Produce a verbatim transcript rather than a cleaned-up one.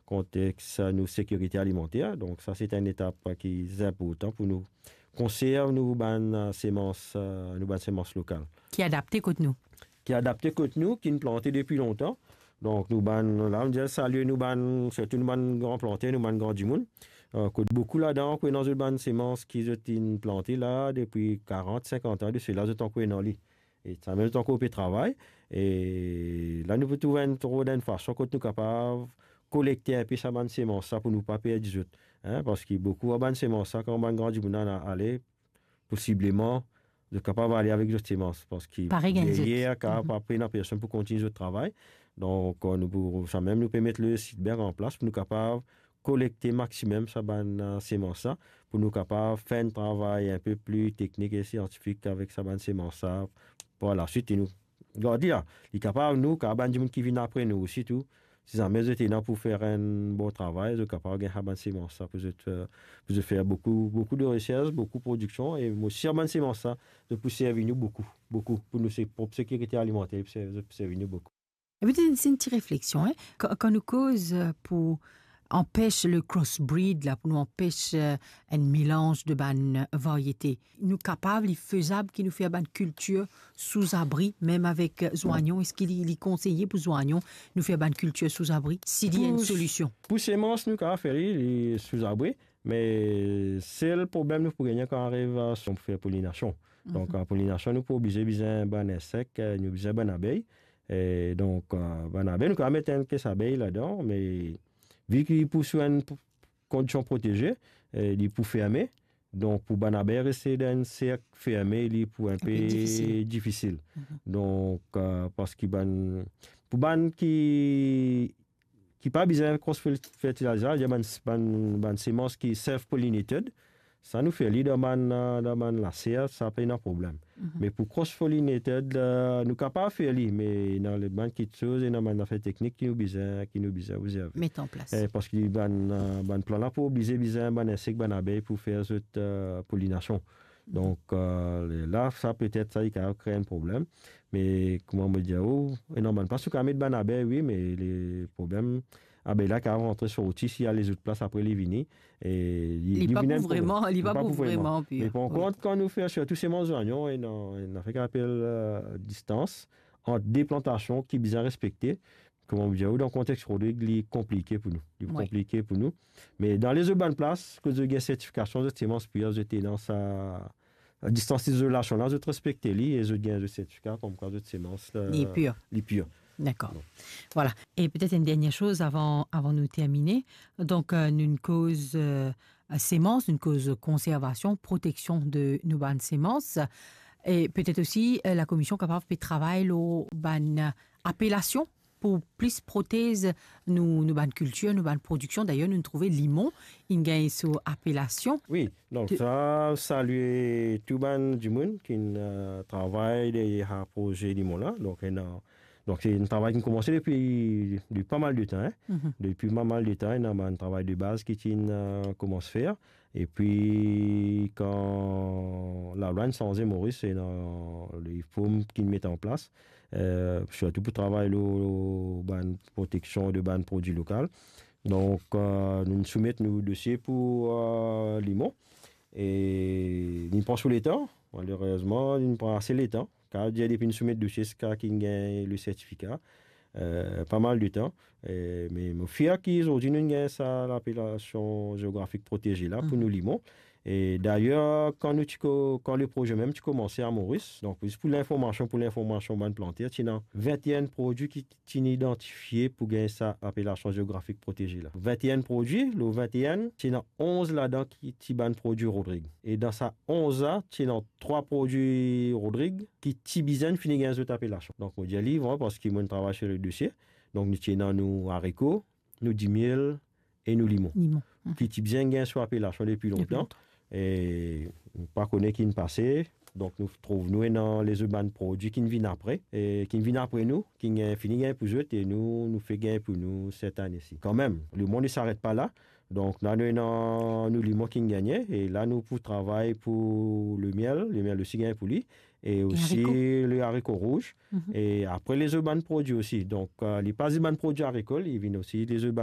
kontex, eh, nou sekirite alimanter. Donk sa se enn etap ki inportan pou nou konserv nou bann, eh, semans, eh, nou bann semans lokal. Ki adapte kot nou. Ki adapte kot nou, ki'nn plante depi lontan. Donk nou bann, la, nou dir salie nou bann, sirtou nou bann gran planter, nou bann gran dimoun. Eh, kot boukou ladan, ki ena zot bann semans ki zot inn plante la depi karant, sinkant an de sela, zot ankor ena li. E samem zot ankor pe travay. E la nou pou trouv enn, trouv enn fason kot nou kapav kolekte inpe sa bann semans sa pou nou pa perdi zot. Hein, parski boukou a bann semans sa, kan bann gran dimoun la ale, posibleman, zot kapav ale avek zot semans, parski deryer, ka pa pena personn pou kontign zot travay. Donk, eh, nou pou, samem nou pe met le sit bank an plas pou nou kapav kolekte maximem sa bann, eh, semans sa, pou nou kapav fer enn travay inpe pli teknik e siantifik avek sa bann semans sa. Par laswit, e nou, gard li la, li kapav nou, kapav bann dimoun ki vinn apre nou osi tou, si zame zot ena pou fer enn bon travay, zot kapav gagn sa bann semans sa pou zot, eh, pou zot fer boukou, boukou de resers, boukou prodiksion, e mo sir bann semans sa, zot pou servi nou boukou, boukou, pou nou se, prop sekirite alimanter, pou servi, zot pou servi nou boukou. E petet enn ti refleksion, hein. Kan, kan nou koz, eh, pou anpes le crossbreed la, pou nou anpes, eh, enn melanz de bann variete, nou kapav, li fezab ki nou fer bann kiltir sou zabri, mem avek, eh, zwanyon? Eski li, li konseye pou zwanyon nou fer bann kiltir sou zabri, si li ena enn solision? Pou semans, nou kapav fer li, li sou zabri, me sel problem nou pou gagne kan ariv, eh, si nou pou fer polinasion. Donk, eh, polinasion, nou pou oblize bizin bann insek, eh, nou bizin bann abey. E donk, eh, bann abey, nou kapav met enn kes abey ladan, me vi ki pou sou enn p-, kondision proteze, eh, li pou ferme. Donk, pou bann abey reste dan enn serk ferme, li pou inpe difisil. Donk, eh, parski bann, pou bann ki, ki pa bizin cross fertilizer, ya bann, bann, bann semans ki self-pollinated, sa nou fer li dan bann, eh, dan bann laser, sa pena problem. Me pou cross-pollinated, eh, nou kapav fer li, me ena le bann kiksoz, ena bann zafer teknik ki nou bizin, ki nou bizin obzerve. Met an plas. Eh, parski bann, eh, bann plan la pou oblize bizin bann insek, bann abey pou fer zot, eh, polinasion. Donk, eh, la, sa petet sa, li kapav kre enn problem. Me kouma mo dir ou, ena bann plas ou kapav met bann abey, wi, me le problem, abey la kapav rantre sorti, si al lezot plas apre li vini, e li, li pa pou vinn enn problem. Li pa pou vreman, li pa pou vreman. Me par kont, kan nou fer sirtou semans zwanyon, ena, ena zafer ki apel, eh, distans ant de plantasion ki bizin respekte. Kouma mo dir ou, dan kontex Rodrig, li konplike pou nou. Li konplike pou nou. Me dan lezot bann plas, kot zot gagn sertifikasion, zot semans pir, zot ena sa distans izolasion la, zot respekte li e zot gagn zot sertifika, koumkwa zot semans, eh, li pir. Li pir. Dakor. Bon. Vwala. E petet enn dernie soz avan, avan nou termine. Donk, eh, nou koz, eh, semans, nou koz konservasion, proteksion de nou bann semans. E petet osi, eh, lakomision kapav pe travay lor bann, eh, apelasion pou plis protez nou, nou bann kiltir, nou bann prodiksion. Dayer, nou trouve limon, inn gagn so apelasion. Wi, donk sa, salie tou bann dimoun ki'nn, eh, travay deryer sa proze limon la. Donk, ena, donk, se enn travay ki'nn koumanse depi, depi pa mal de tan, hein. Depi pa mal de tan, ena bann travay de baz ki ti'nn, eh, koumans fer. Epi, kan lalwa inn sanze Moris, ena lefom ki'nn met an plas, eh, sirtou pou travay lor, lor bann proteksion de bann prodwi lokal. Donk, eh, nou soumet nou dosie pou, eh, limon. E li pran so letan, malerezman, li pran ase letan. Kapav dir depi nou soumet dosie ziska ki'nn gagn le sertifika, eh, pa mal de tan. Eh, me mo fier ki zordi nou'nn gagn sa lapelasion zeografik proteze la pou nou limon. E dayer, kan nou ti ko-, kan le proze mem ti koumanse a Moris, donk zis pou linformasion, pou linformasion bann planter, ti ena vinte-enn prodwi ki ti'nn idantifie pou gagn sa lapelasion zeografik proteze la. Vinte-enn prodwi, lor vinte-enn, ti ena onz ladan ki ti bann prodwi Rodrig. E dan sa onz la, ti ena trwa prodwi Rodrig ki ti bizin fini gagn zot apelasion. Donk, mo dir li, bon, parski mo'nn travay sir le dosie. Donk, nou ti ena nou ariko, nou dimiel e nou limon. Limon. Ki ti bizin gagn so apelasion depi lontan. Depi lontan. E nou pa kone ki'nn pase. Donk, nou trouv nou ena lezot bann prodwi ki'nn vinn apre, e ki'nn vinn apre nou, ki'nn gagn, fini gagn pou zot, e nou, nou fek gagn pou nou set ane si. Kanmem, lemond i saret pa la. Donk, la nou ena nou limon ki'nn gagne, e la nou pou travay pou lemiel, lemiel osi gagn pou li, e osi le ariko rouz, e apre lezot bann prodwi osi. Donk, eh, li pa zis bann prodwi ariko, li vinn osi lezot bann